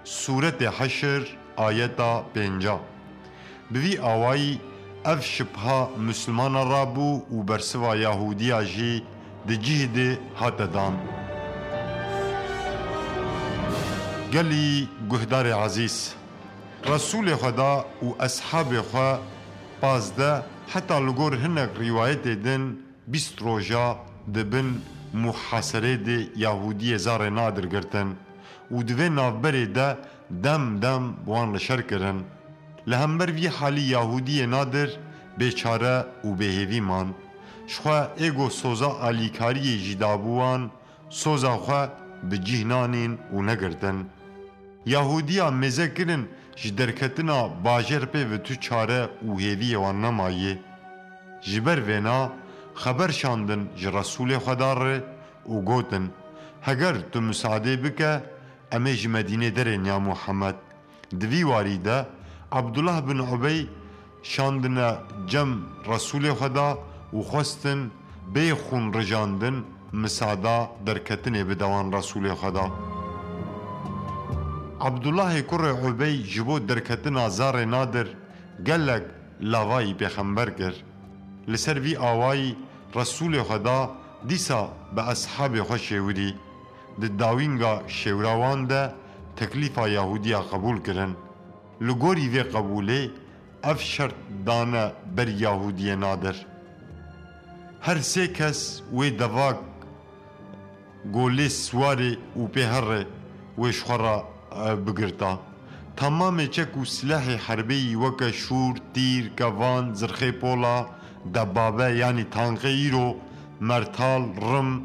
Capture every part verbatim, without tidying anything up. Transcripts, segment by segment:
Sûretê Heşr, ayeta pênca. Bi vî awayî ev şibha Mislimana rabû û bersiva Yahûdiya jî di cih de hate dan. Gelî guhdarê ezîz, Resûlê Xweda û eshabê xwe pazdeh, heta li gor hinek rîwayetê din bîst roja di bin muhaserê de Yahûdiyê Zarê Nadir girtin û di vê navberê de dem dem bi wan li şer kirin. Li hember vî halî Yahûdiyê Nadir bêçare û bêhêvî man. Ji xwe ê ku soza alîkariyê jî dabû wan, soza xwe bi cih nanîn û negirtin. Yahûdiya mêze kirin ji derketina bajêr pê ve tu çare û hêviyê wan nemaye. Ji ber vêna xeber şandin ji Resûlê Xweda re û gotin, Heger tu misadê bike, em ê ji Medînê derên ya Muhammed. Di vî warî de Abdullah bin Ubey şandine cem Resûlê Xweda û xwestin bê xûn rijandin misada derketinê bide wan Resûlê Xweda. Abdullahê kurê Ubey ji bo derketina Zarê Nadir gelek lavayî pêxember kir. Li ser vî awayî Resûlê Xweda dîsa bi eshabê xwe şêwirî. Di dawînga şêwira wan de teklîfa Yahûdiya qebûl kirin. Li gorî vê qebûlê ev şert dane ber Yahûdiyê Nadir. Her sê kes wê devak golê siwarê û pê here wê ji xwe re, e, bigirta. Temamê çek û silehê herbêyî weke şûr, tîr, kevan, zirxê pola, debabe, yanî tanqê îro, mertal, rim,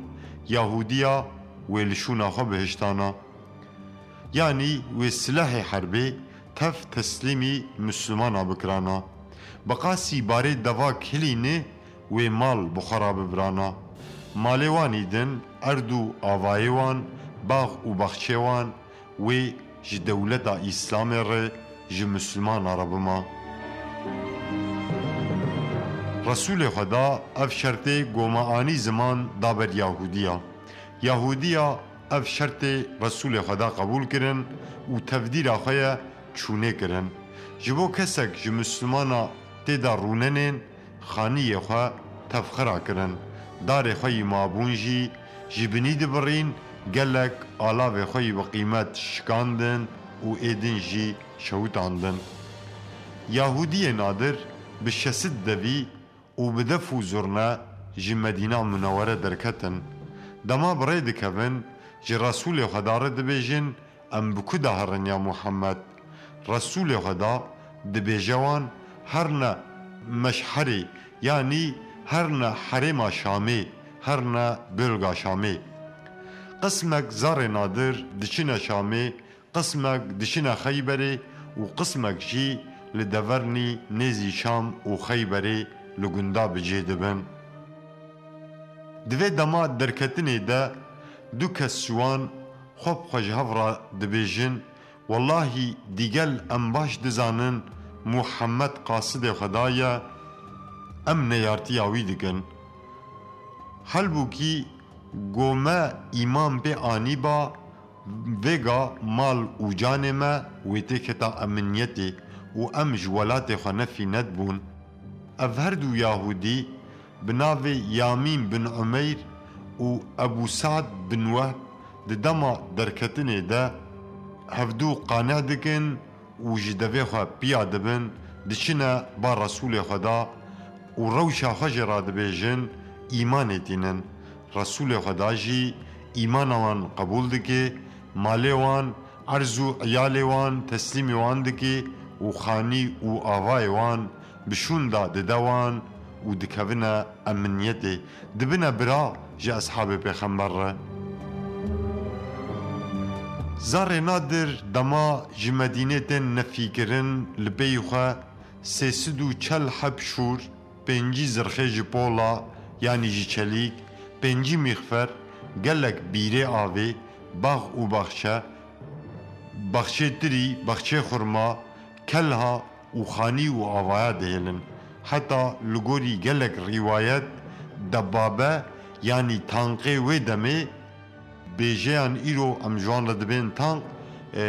Yahûdiya wê li şûna xwe bihiştana. Yanî wê silehê herbê tev teslîmî Mislimana bikirana. Bi qasî barê devak hilîne wê mal bi xwe re bibirana. Malê wan î din, erd û avayê wan, bax û baxçê wan, wê ji dewleta Îslamê re, ji Mislimana re bima. Resûlê Xweda ev şertê goma anî ziman da ber Yahûdiya. Yahûdiya ev şertê Resûlê Xweda qebûl kirin û tevdîra xwe ye çûnê kirin. Ji bo kesek ji Mislimana tê de rûnenên, xaniyê xwe tevxira kirin. Darê xwe yî mabûn jî ji binî dibirîn, gelek alavê xwe yî bi qîmet şikandin û ê din jî şewitandin. Yahûdiyê Nadir bi şesit devî û bi def û zurne ji Medîna Munewwere derketin. Dema bi rê dikevin, ji Resûlê Xweda re dibêjin, Em bi ku de herin ya Muhammed? Resûlê Xweda dibêje wan, Herne Meşherê, yanî herne herêma Şamê, herne bölga Şamê. Qismek Zarê Nadir diçine Şamê, qismek diçine Xeyberê û qismek jî li devernî nêzî Şam û Xeyberê li gunda bi cih dibin. Di vê dema derketinê de du kes ji wan xwe bi xwe ji hev re dibêjin, Wellahî dîgel em baş dizanin Muhammed qasidê Xweda ye, em neyartiya wî dikin. Halbûkî go me îman pê anîba, vêga mal û canê me wê têketa eminiyetê û em ji welatê xwe nefî nedibûn. Ev her du Yahûdî bi navê Yamîn bin Umeyr û Ebû Sa'd bin Wehb di dema derketinê de hevdû qane dikin û ji devê xwe piya dibin, diçine ba Resûlê Xweda û rewşa xwe jê re dibêjin, îmanê tînin. Resûlê Xweda jî îmana wan qebûl dike, malê wan, erz û eyalê wan teslîmî wan dike û xanî û avayê wan bi şûn de dide wan û dikevine eminiyetê, dibine bira ji eshabê pêxember re. Zarê Nadir dema ji Medînê tên nefîkirin, li pey xwe sê sed û çel heb şûr, pêncî zirxê ji pola, yanî ji çelîk, pêncî mîxfer, gelek bîrê avê, bax û baxçe, baxçê tirî, baxçê xurma, kelha û xanî û avaya dihêlin. Heta li gorî gelek rîwayet, debabe, yanî tanqê wê demê, bêjeyan îro em ji wan re dibên tanq, e,